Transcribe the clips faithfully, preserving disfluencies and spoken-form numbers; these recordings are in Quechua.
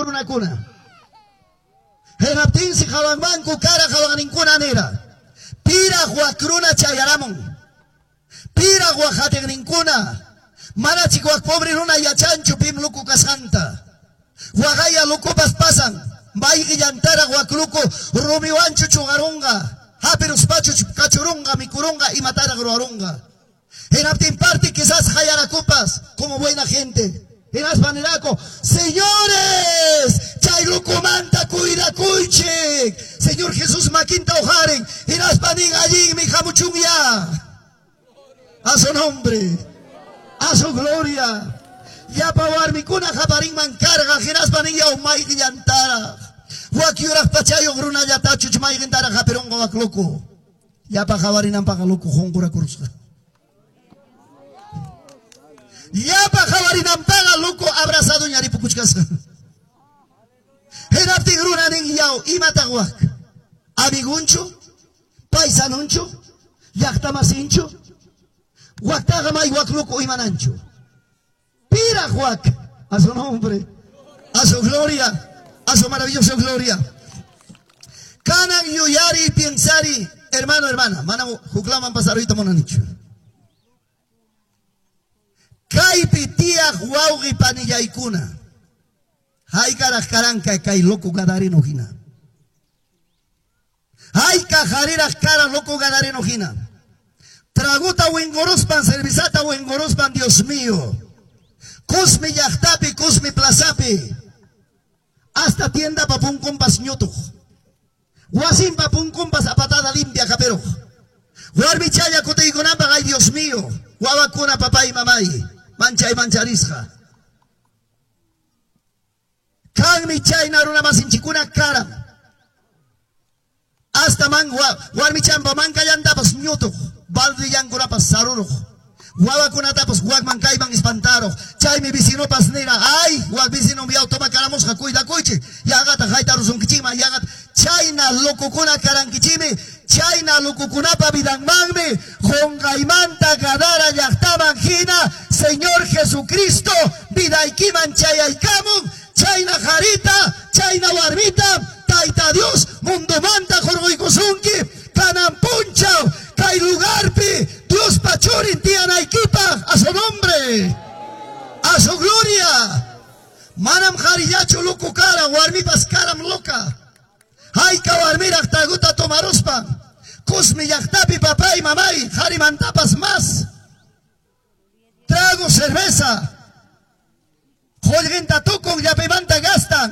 Runakuna. Hinaptinsi hawanmanku kara hawaqninkuna nira. Piraq wak runa chayaramun. Piraq wak hatiqninkuna. Manachik wak pobre runa yachanchu pim luku kasqanta. Waqaya lukupas pasan. Mayqillantaraq wak luku rumiwanchu chuqarunqa. Hapiruspachu kachurunqa mikurunqa imataraq ruwarunqa. Hinaptin parte quizás hayarakupas como buena gente. Hinaspa nirako, señores, chay lukumanta cuidakuychik. Señor Jesús makinta uqarin. Hinaspa nin allinmi hamuchunya. A su nombre, a su gloria. Llapa warmikuna qaparinman karqa hinaspa nin yaw mayqillantaraq. Wak yuraq pachayuq runallatachu mayqintaraq hapirunqa wak luku. Llapa qawarinanpaqa luku qunqurakurusqa. Llapa qawarinanpaqa luku abrazado ñaripukuchkasqa. Hinaptin runa nin yaw imataq wak. Amigunchu, paisanunchu, llaqtamasinchu, waktaqa may wak luku imananchu. Piraq wak, a su nombre, a su gloria, a su maravillosa gloria. Kanan yuyari piensari, hermano, hermana, mana huklaman pasaruyta munanichu. Kaypi tiyaq wawqi panillaykuna. Haykaraq karanka kay loco gadareno hina. Hayka hariraq kara loco gadareno hina. Traguta winguruspan, cervezata winguruspan, Dios mío. Kusmi llaqtapi, kusmi plazapi. Hasta tienda papunkumpas ñutuq. Wasin papunkumpas apatada limpia kaperuq. Warmichalla kutiykunanpaq, ay Dios mío. Wawakuna papay mamay. Manchay mancharisqa. Kanmi chayna runa masinchikuna karam. Hasta man warmichampa mankallantapas ñutuq. Baldillankunapas saruruq. Wawakunatapas wakman kayman espantaruq. Chaymi vecinopas nira, ay, wak vecino mi automacaramusqa cuidakuychik. Yaqata haytarusunkichikman yaqata. Chayna locokuna karankichimi. Chayna locokunapa vidanmanmi. Qunqaymanta Gadara llaqtaman hina. Señor Jesucristo vidaykiman chayaykamun. Chayna jarita, chayna warmita, Tayta Dios mundomanta hurquykusunki. Kanan punchaw kay lugarpi Diospa churin tiyanaykipaq, a su nombre, a su gloria. Manam qharillachu loco kara, warmipas karam loca. Hayka warmiraq traguta tomaruspan. Kusmi llaqtapi papay mamay, qharimantapas más. Trago cerveza. Qullqinta tukun llapimanta gastan.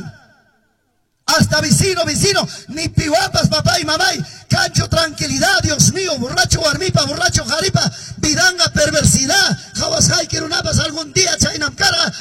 Hasta vecino, vecino, ni piwapas, papá y mamá, cancho tranquilidad, Dios mío, borracho warmipa, borracho jaripa, vidanga perversidad, jawas runapas algún día chaynam karqa,